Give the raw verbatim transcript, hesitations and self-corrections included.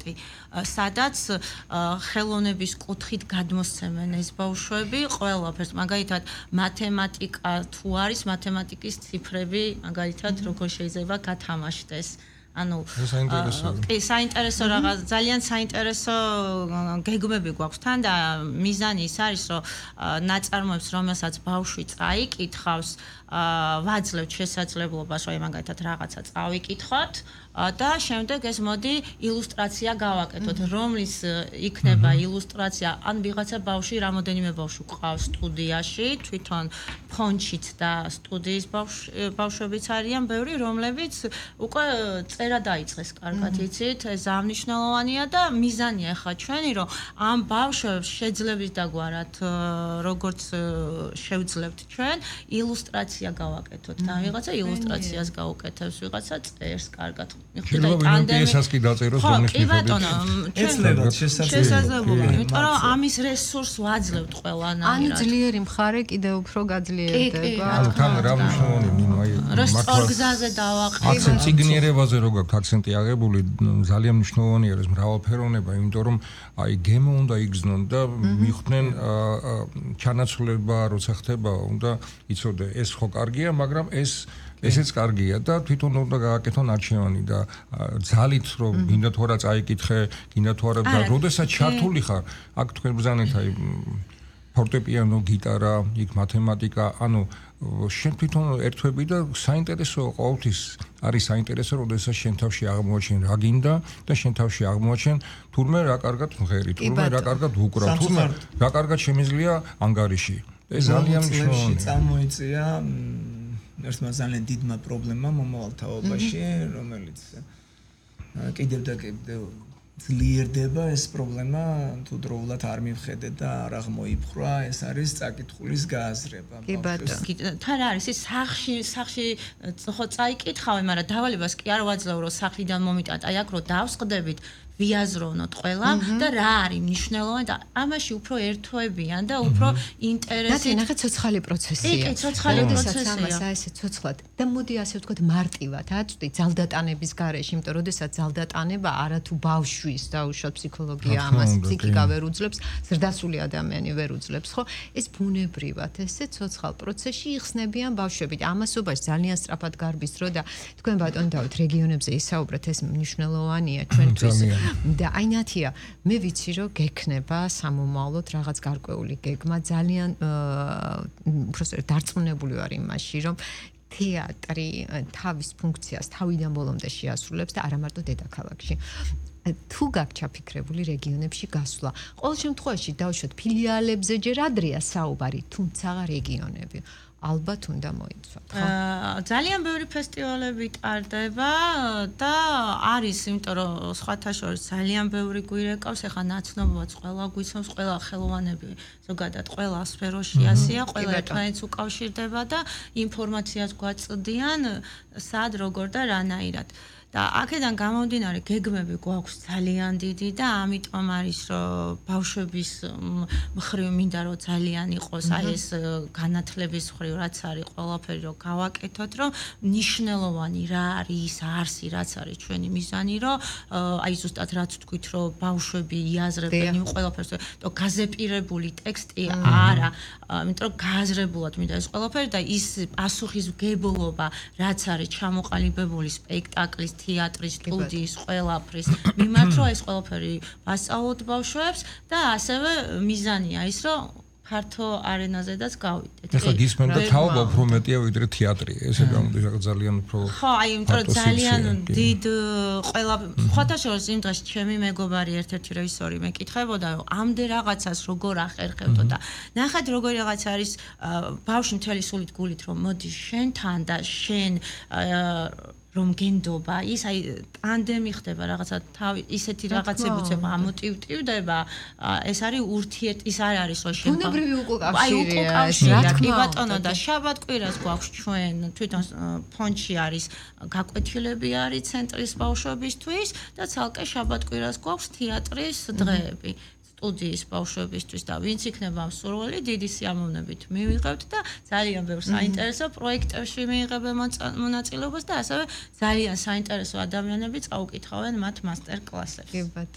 სახლი, სადაც ხელოვნების კუთხით გადმოსცემენ ეს ბავშვები ყველაფერს, მაგალითად მათემატიკა თუ არის, მათემატიკის ციფრები, მაგალითად როგორ შეიძლება გათამაშდეს. ანუ კი საინტერესო რაღაც ძალიან საინტერესო გეგმები გვაქვს თან და მიზანი ის არის რომ ნაწარმოებს რომელსაც ბავშვი წაიკითხავს ვაძლევთ შესაძლებლობას რომ მაგალითად რაღაცა წავიკითხოთ და შემდეგ ეს მოდი ილუსტრაცია გავაკეთოთ რომლის იქნება ილუსტრაცია ან ვიღაცა ბავშვი რამოდენიმე ბავშვი ყავს სტუდიაში თვითონ ფონჩით და სტუდიის ბავშვებიც არიან ბევრი რომლებიც უკვე წერა დაიწყეს კარგად იცით ეს აღნიშნულოვანია და მიზანია ხა ჩვენი რომ ამ ბავშვებს შეძლებით დაგვარად როგორც შევძლებთ ჩვენ ილუსტრაცია გავაკეთოთ და ვიღაცა ილუსტრაციას გაუკეთებს ვიღაცა წერს კარგად მიხვდით ტანდემი კი დაწეროს რომლის მიხედვით ეცლებათ შესაძლებლობა იმიტომ რომ ამის რესურს ვაძლევთ ყველანაირად ანუ ძლიერი მხარე კიდევ უფრო გაძლიერდება ანუ თან რა მნიშვნელოვანი ნინო აი რა სწორ გზაზე დავაყენო აქცენტი ციგნიერებაზე რო გაქვთ აქცენტი აღებული ძალიან მნიშვნელოვანია ეს მრავალფეროვნება იმიტომ რომ აი გემო უნდა იგრძნონ და მიხვდნენ ჩანაცვლება როცა ხდება უნდა იცოდე ეს ხო კარგია მაგრამ ეს ესეც კარგია და თვითონ უნდა გააკეთონ არჩევანი და ძალით რომ გინდა თუ არა წაიკითხე, გინდა თუ არა და როდესაც ჩართული ხარ, აქ თქვენ ბრძანეთ აი ფორტეპიანო, გიტარა, იქ მათემატიკა, ანუ შენ თვითონ ერთვები და საინტერესო ყოველთვის არის საინტერესო, როდესაც შენ თავში აღმოაჩენ რა გინდა და შენ თავში აღმოაჩენ თურმე რა კარგად მღერი, თურმე რა კარგად უკრა, თურმე რა კარგად შემიძლია ანგარიში. ეს ძალიან მნიშვნელოვანია. წამოიწია ერთმა ძალიან დიდმა პრობლემამ მომავალ თაობაში, რომელიც კიდევ და კიდევ ძლიერდება ეს პრობლემა, თუ დროულად არ მივხედეთ და არ აღმოიფხვრა, ეს არის წაკითხulis გააზრება. კი ბატონო. თან არის ის სახში, სახში ხო წაიკითხავენ, მაგრამ დავალებას კი არ ვაძლევ, რომ სახლიდან მომიტანთ, აი აქ რო დავსყდებით ვიაზროვნოთ ყველა და რა არის მნიშვნელოვანი და ამაში უფრო ერთვებიან და უფრო ინტერესი. და ნახე ცოცხალი პროცესია. კი, ცოცხალი პროცესია. ამას აი ესე ცოცხლად და მოდი ასე ვთქვათ მარტივად აწვდი ძალდატანების გარეშე, იმიტომ რომ შესაძ ძალდატანება არა თუ ბავშვის დაუშვათ ფსიქოლოგია ამას ფსიქიკა ვერ უძლებს, ზრდასრული ადამიანი ვერ უძლებს, ხო? ეს ბუნებრივად ესე ცოცხალ პროცესში იხსნებიან ბავშვები და ამასობაში ძალიან სწრაფად გარბის დრო და თქვენ ბატონო დავით რეგიონებზე ისაუბრეთ ეს მნიშვნელოვანია ჩვენთვის. და აი ნათია მე ვიცი რომ გექნება სამომავლოდ რაღაც გარკვეული გეგმა ძალიან უბრალოდ დარწმუნებული ვარ იმაში რომ თეატრი თავის ფუნქციას თავიდან ბოლომდე შეასრულებს და არა მარტო დედაქალაქში თუ გაქვთ ჩაფიქრებული რეგიონებში გასვლა ყოველ შემთხვევაში დავუშვათ ფილიალებზე ჯერ ადრეა საუბარი თუმცა რეგიონები ალბათ უნდა მოიცვათ, ხო? ძალიან ბევრი ფესტივალები ტარდება და არის, იმიტომ რომ სხვათა შორის ძალიან ბევრი გვირეკავს, ეხლა ნაცნობობაც ყველა გვიცნობს, ყველა ხელოვანები ზოგადად ყველა სფეროში ასია, ყველა ერთმანეთს უკავშირდება და ინფორმაციას გვაწვდიან, სად, როგორ და რანაირად. და აქედან გამომდინარე გეგმები გვაქვს ძალიან დიდი და ამიტომ არის რომ ბავშვების მხრივ მინდა რომ ძალიან იყოს აი ეს განათლების მხრივ რაც არის ყველაფერი რომ გავაკეთოთ რომ ნიშნულოვანი რა არის არსი რაც არის ჩვენი მიზანი რომ აი ზუსტად რაც თქვით რომ ბავშვები იაზრებენ იმ ყველაფერს და გაზეპირებული ტექსტი არა იმიტომ რომ გააზრებულად მინდა ეს ყველაფერი და ის პასუხისმგებლობა რაც არის ჩამოყალიბებული სპექტაკლის თეატრის, სტუდიის, ყველაფრის მიმართ რომ ეს ყველაფერი ვასწავლოთ ბავშვებს და ასევე მიზანია ის რომ ფართო არენაზედაც გავიდეთ. ეხლა გისმენდა თაობა უფრო მეტია ვიდრე თეატრი. ესე გამოდის რაღაც ძალიან უფრო ხო, აი, იმიტომ რომ ძალიან დიდ ყველა ხოთა შორის იმ დღეს ჩემი მეგობარი ერთ-ერთი რეჟისორი მეკითხებოდა რომ ამდე რაღაცას როგორ ახერხებდო და ნახეთ როგორი რაღაც არის ბავშვი მთელი სულით გულით რომ მოდი შენთან და შენ რომ გენდობა ის აი ტანდემი ხდება რაღაცა თავი ისეთი რაღაცები უცებ ამოტივტივდება ეს არის ურთიერთ ის არ არის რომ შენ ბუნებრივი უკავშირია აი კი ბატონო და შაბათ-კვირას გვაქვს ჩვენ თვითონ ფონდში არის გაკვეთილები არის ცენტრის ბავშვებისთვის და ცალკე შაბათ-კვირას გვაქვს თეატრის დღეები სტუდიის ბავშვებისთვის და ვინც იქნება მსურველი დიდი სიამოვნებით მივიღებთ და ძალიან ბევრ საინტერესო პროექტებში მიიღებენ მონაწილეობას და ასევე ძალიან საინტერესო ადამიანები წაუკითხავენ მათ მასტერ-კლასებს. კი ბატონო